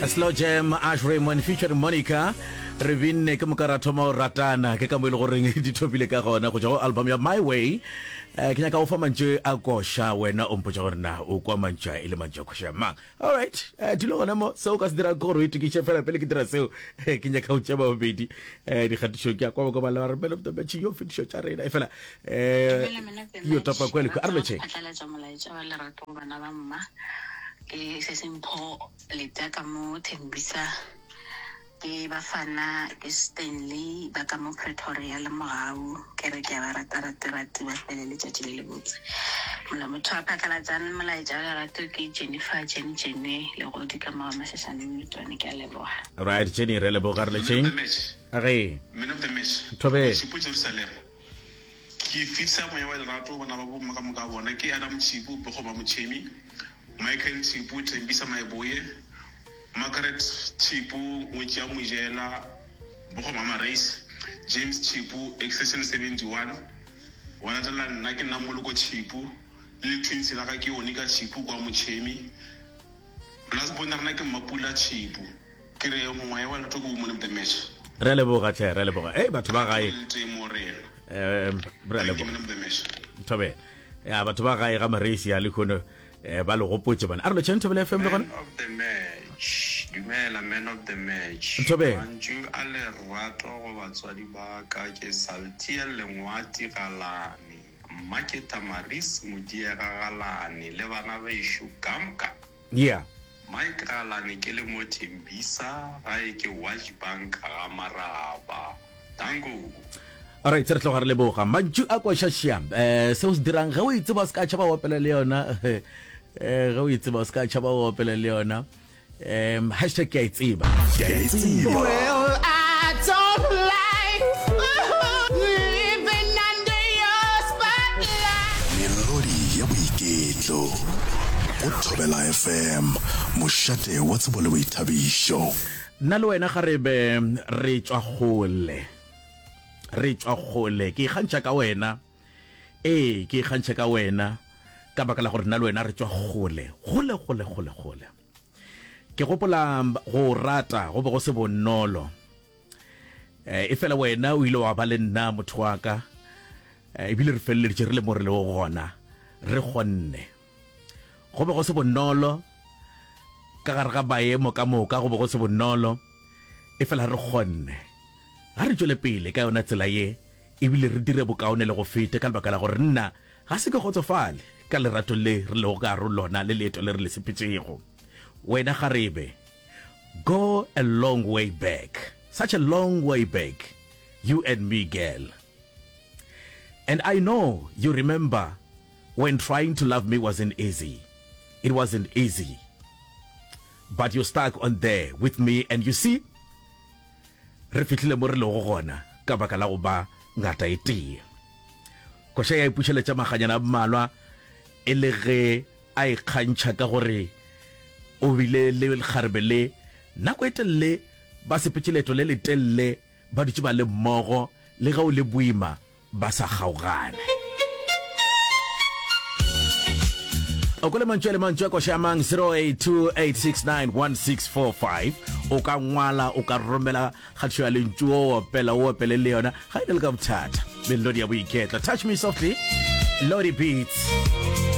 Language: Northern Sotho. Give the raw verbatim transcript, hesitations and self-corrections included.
Slow Jam, Ash Raymond featuring Monica. Re binne ke moka ra thoma go ratana, ke ka mo e le goreng di thopile ka gona go tšwa go album ya My Way. Eh, ke nyaka go fa mantšu a koša, wena o mpotša gore na o kwa mantšu a e le mantšu a koša mang. Alright, eh, dilo gona mo, seo o ka se dirang ke gore o itokiše fela pele ke dira seo. Eh, ke nyaka go tšea babedi eh, dikgatišong ke a kwa ba kwa ba le ba re man of the match yo fetišo tša rena e fela eh, Dumela man of the yo match. topa kwa le kwa. A re Rata go lotšheng. phatlalatša molaetša wa lerato go bana ba mma. Ke se sempho leta ka mo Thembisa, ke Bafana, ke Stanley ba ka mo Pretoria le Mogau. Ke re ke a ba rata rate rate ba fele letšatši le lebotse. Mola motho a phatlalatsang molaetša wa lerato ke Jennifer Jenny Jenny Legodi ka mo ga Mashashane Mmetwane. Ke a leboga. Right, Jenny, re leboga, re Man of letšeng. the match. Ge. Man of the match. Thobela. Tšhipo Jerusalema. Ke fetisa moya wa lerato go bana ba bomma ka moka bona. Ke Adam Tšhipo, Pego ba Motšhemi, Michael Tšhipo, Thembisa Maeboye, Margaret Tšhipo, Ngwetši ya Mojela, Bogo Mama Race, James Tšhipo, Extension seventy-one. Wa latela nna, ke nna Moloko Tšhipo, le le-twins la ka ke Onika Tšhipo kwa Motšhemi. Last born ya rena ke Mmapula Tšhipo. Ke re moya wa lerato ke wo man of the match. Re a leboga tlhe, re a leboga. Ei, batho ba gae. Le tee mo rena. Um, re a Thank you leboga. man of the match. Thobela. Ya, batho ba gae ga Mareisi ya lehono eh, ba le gopotše bana. A re lotšheng Thobela F M le gona. Man of the match. Dumela man of the match. Thobela. Mantšu a lerato go batswadi ba ka ke Saltiel Lengwati Galane, mma ke Tamaris Modiega Galane le bana bešo ka moka. Yeah. Mike Galane ke le mo Thembisa, gae ke Watch Bank ga Maraba. Danko. Alright, re tloga re leboga. Mantšu a koša šia. Eh, seo se dirang ge o e tseba o se ka tšhaba o opela le yona. Eh, ge o e tseba o se ka tšhaba o opela le yona. Um, hashtag ke a e tseba. Ke a e tseba. Well, I don't like living under your spotlight. Melodi ya boiketlo go Thobela F M, mošate wa tsebo le boithabišo. Nna le wena kgarebe re tšwa kgole, re tšwa kgole. Ke ikgantšha ka wena, ee ke ikgantšha ka wena ka baka la gore nna le wena re tšwa kgole, kgole, kgole, kgole, kgole. Ke gopola go rata go be go se bonolo, eh, e fela wena o ile wa ba le nna motho wa ka, eh, ebile re feleleditše re le mo re lego gona, re kgonne. Go be go se bonolo ka gare ga maemo ka moka, go be go se bonolo, e fela re kgonne. Ga re tšwele pele ka yona tsela ye, ebile re dire bokaone le go feta, ka lebaka la gore nna ga se ke kgotsofale ka lerato le re lego ka gare lona le leeto le re le sepetšego. Wena kgarebe, go a long way back, such a long way back, you and me girl. And I know you remember when trying to love me wasn't easy. It wasn't easy. But you stuck on there with me, and you see, re fihlile mo re lego gona ka baka la go ba ngata e tee. Koša ya ipušeletša maganyana a mmalwa e le ge a ikgantšha ka gore o bile le lekgarebe le nako e telele, ba sepetše leeto le letelele, ba dutše ba le mmogo, le ge o le boima ba sa kgaogane. O kwele mantšu a le mantšu a koša ya mang? Zero eight two eight six nine one six four five. O ka ngwala, o ka romela kgatišo ya lentšu, o opela, o opele le yona, ga e ne le ka bothata. Melodi ya boiketlo. Touch Me Softly, Lodi Beats.